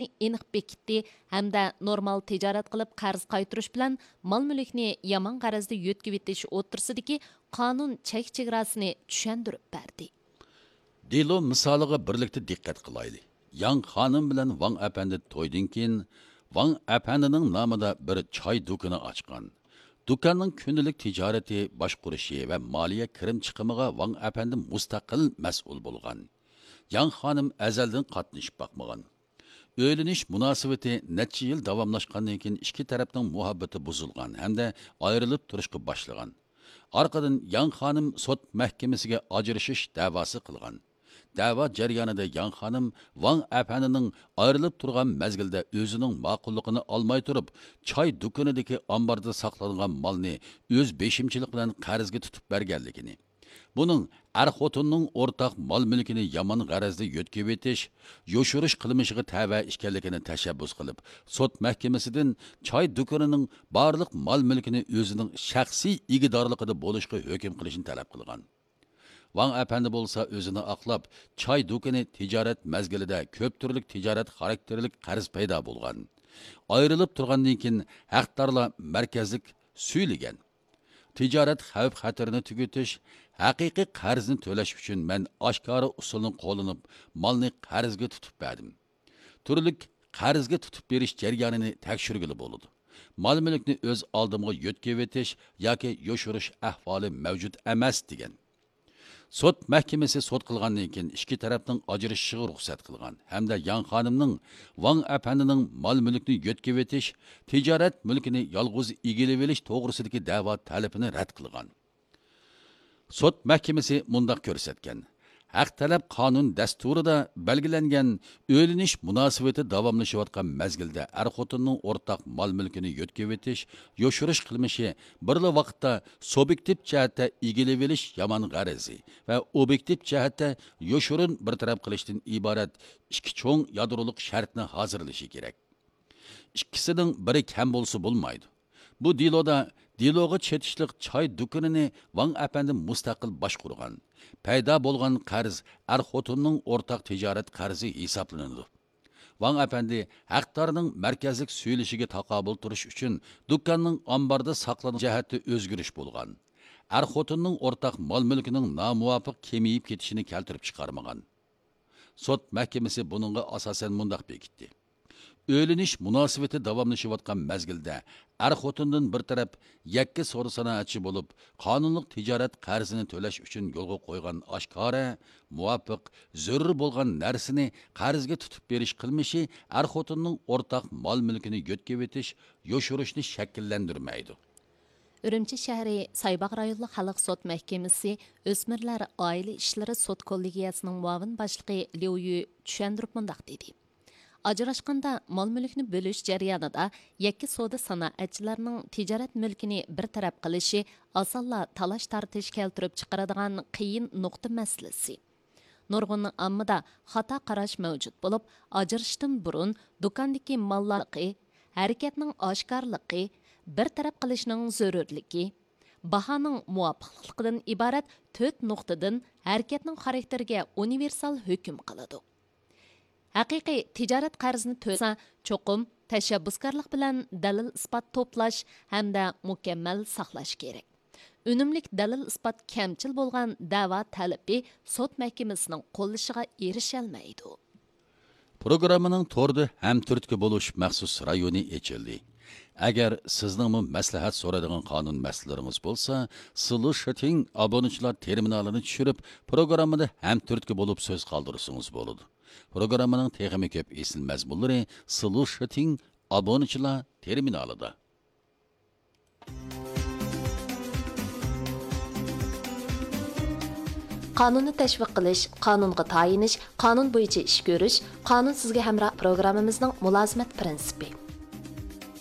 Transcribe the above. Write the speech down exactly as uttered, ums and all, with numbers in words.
ئېنىق بېكىتتى ھەمدە نورمال تىجارەت قىلىپ قەرز قايتۇرۇش بىلەن مال مۈلۈكنى يامان غەرەزدە يۆتكىۋېتىش ئوتتۇرىسىدىكى قانۇن چەك چېگراسىنى چۈشەندۈرۈپ بەردى. دېلو مىسالىغا بىرلىكتە دىققەت قىلايلى. ياڭ خانىم بىلەن ۋاڭ ئەپەندى تويدىن كېيىن، ۋاڭ ئەپەندىنىڭ نامىدا بىر چاي دۇكىنى ئاچقان. دۇكاننىڭ كۈندىلىك تىجارىتى باشقۇرۇشى ۋە مالىيە كىرىم چىقىمىغا ۋاڭ ئەپەندى مۇستەقىل مەسئۇل بولغان. ياڭ خانىم ئەزەلدىن قاتنىشىپ باقمىغان. ئۆيلىنىش مۇناسىۋىتى نەچچە يىل داۋاملاشقاندىن كېيىن، ئىككى تەرەپنىڭ مۇھەببىتى بۇزۇلغان ھەمدە ئايرىلىپ تۇرۇشقا باشلىغان. ئارقىدىن ياڭ خانىم سوت مەھكىمىسىگە ئاجرىشىش دەۋاسى قىلغان. دەۋا جەريانىدا ياڭ خانىم ۋاڭ ئەپەندىنىڭ ئايرىلىپ تۇرغان مەزگىلدە ئۆزىنىڭ ماقۇللۇقىنى ئالماي تۇرۇپ، چاي دۇكىنىدىكى ئامباردا ساقلانغان مالنى ئۆز بېشىمچىلىق بىلەن قەرزگە تۇتۇپ بەرگەنلىكىنى، بۇنىڭ ئەر-خوتۇننىڭ ئورتاق مال-مۈلكىنى يامان غەرەزدە يۆتكىۋېتىش، يوشۇرۇش قىلمىشىغا تەۋە ئىكەنلىكىنى تەشەببۇس قىلىپ، سوت مەھكىمىسىدىن چاي دۇكىنىنىڭ بارلىق مال-مۈلكىنى ئۆزىنىڭ شەخسىي ئىگىدارلىقىدا بولۇشقا ھۆكۈم قىلىشنى تەلەپ قىلغان. ۋاڭ ئەپەندى بولسا ئۆزىنى ئاقلاپ، چاي دۇكىنى تىجارەت مەزگىلىدە كۆپ تۈرلۈك تىجارەت خاراكتېرلىك قەرز پەيدا بولغان. ئايرىلىپ تۇرغاندىن كېيىن ھەقدارلار مەركەزلىك سۈيلىگەن. تىجارەت خەۋپ-خەتىرىنى تۈگىتىش، ھەقىقىي قەرزنى تۆلەش ئۈچۈن مەن ئاشكارا ئۇسۇلنى قوللىنىپ، مالنى قەرزگە تۇتۇپ بەردىم. تۈرلۈك قەرزگە تۇتۇپ بېرىش جەريانىنى تەكشۈرگىلى بولىدۇ. مال-مۈلۈكنى ئۆز ئالدىمغا يۆتكىۋېتىش ياكى يوشۇرۇش ئەھۋالى مەۋجۇت ئەمەس، دېگەن. سوت مەھكىمىسى سوت قىلغاندىن كېيىن ئىككى تەرەپنىڭ ئاجرىشىشىغا رۇخسەت قىلغان ھەمدە ياڭ خانىمنىڭ ۋاڭ ئەپەندىنىڭ مال-مۈلۈكنى يۆتكىۋېتىش، تىجارەت مۈلكىنى يالغۇز ئىگىلىۋېلىش توغرىسىدىكى دەۋا تەلىپىنى رەت قىلغان. سوت مەھكىمىسى مۇنداق كۆرسەتكەن: ھەق تەلەپ قانۇن دەستۇرىدا بەلگىلەنگەن ئۆيلىنىش مۇناسىۋىتى داۋاملىشىۋاتقان مەزگىلدە ئەر-خوتۇننىڭ ئورتاق مال-مۈلكىنى يۆتكىۋېتىش، يوشۇرۇش قىلمىشى بىرلا ۋاقىتتا سۇبيېكتىپ جەھەتتە ئىگىلىۋېلىش يامان غەرىزى ۋە ئوبيېكتىپ جەھەتتە يوشۇرۇن بىر تەرەپ قىلىشتىن ئىبارەت ئىككى چوڭ يادرولۇق شەرتنى ھازىرلىشى كېرەك. ئىككىسىنىڭ بىرى كەم بولسا بولمايدۇ. بۇ دېلودا دېلوغا چېتىشلىق چاي دۇكىنىنى ۋاڭ ئەپەندى مۇستەقىل باشقۇرغان. پەيدا بولغان قەرز ئەر-خوتۇننىڭ ئورتاق تىجارەت قەرزى ھېسابلىنىدۇ. ۋاڭ ئەپەندى ھەقدارنىڭ مەركەزلىك سۈيلىشىگە تاقابىل تۇرۇش ئۈچۈن دۇكاننىڭ ئامباردا ساقلىنىش جەھەتتە ئۆزگىرىش بولغان. ئەر-خوتۇننىڭ ئورتاق مال-مۈلكىنىڭ نامۇۋاپىق كېمىيىپ كېتىشىنى كەلتۈرۈپ چىقارمىغان. سوت مەھكىمىسى بۇنىڭغا ئاساسەن مۇنداق بېكىتتى: ئۆيلىنىش مۇناسىۋىتى داۋاملىشىۋاتقان مەزگىلدە ئەر-خوتۇندىن بىر تەرەپ يەككە سودا-سانائەتچى بولۇپ، قانۇنلۇق تىجارەت قەرزىنى تۆلەش ئۈچۈن يولغا قويغان ئاشكارا، مۇۋاپىق، زۆرۈر بولغان نەرسىنى قەرزگە تۇتۇپ بېرىش قىلمىشى ئەر-خوتۇننىڭ ئورتاق مال-مۈلكىنى يۆتكىۋېتىش، يوشۇرۇشنى شەكىللەندۈرمەيدۇ. ئۈرۈمچى شەھىرى سايباغ رايونلۇق خەلق سوت مەھكىمىسى ئۆسمۈرلەر ئائىلە ئىشلىرى سوت كوللېگىيەسىنىڭ مۇئاۋىن باشلىقى ليۇ يۈ چۈشەندۈرۈپ مۇنداق دېدى: ئاجراشقاندا مال-مۈلۈكنى بۆلۈش جەريانىدا يەككە سودا سانائەتچىلەرنىڭ تىجارەت مۈلكىنى بىر تەرەپ قىلىشى ئاسانلا تالاش-تارتىش كەلتۈرۈپ چىقىرىدىغان قىيىن نۇقتا مەسىلىسى. نۇرغۇن ئاممىدا خاتا قاراش مەۋجۇت بولۇپ، ئاجرىشىشتىن بۇرۇن دۇكاندىكى ماللارنىڭ ھەرىكەتنىڭ ئاشكارىلىقى، بىر تەرەپ قىلىشنىڭ زۆرۈرلۈكى، باھانىڭ مۇۋاپىقلىقىدىن ئىبارەت تۆت نۇقتىدىن ھەرىكەتنىڭ خاراكتېرىگە ئۇنىۋېرسال ھۆكۈم قىلىدۇ. ھەقىقىي تىجارەت قەرزىنى تۆلىسە، چوقۇم تەشەببۇسكارلىق بىلەن دەلىل-ئىسپات توپلاش ھەمدە مۇكەممەل ساقلاش كېرەك. ئۈنۈملۈك دەلىل-ئىسپات كەمچىل بولغان دەۋا تەلىپى سوت مەھكىمىسىنىڭ قوللىشىغا ئېرىشەلمەيدۇ. پروگراممىنىڭ توردا ھەمتۈرتكە بولۇش مەخسۇس رايونى ئېچىلدى. ئەگەر سىزنىڭمۇ مەسلىھەت سورايدىغان قانۇن مەسىلىلىرىڭىز بولسا، سلۇشىتىڭ ئابۇنىچىلار تېرمىنالىنى چۈشۈرۈپ، پروگراممىدا ھەمتۈرتكە بولۇپ سۆز قالدۇرسىڭىز بولىدۇ. پروگراممىنىڭ تېخىمۇ كۆپ ئېسىل مەزمۇنلىرى سلۇشىتىڭ ئابۇنىچىلار تېرمىنالىدا. قانۇننى تەشۋىق قىلىش، قانۇنغا تايىنىش، قانۇن بويىچە ئىش كۆرۈش، قانۇن سىزگە ھەمراھ پروگراممىمىزنىڭ مۇلازىمەت پىرىنسىپى.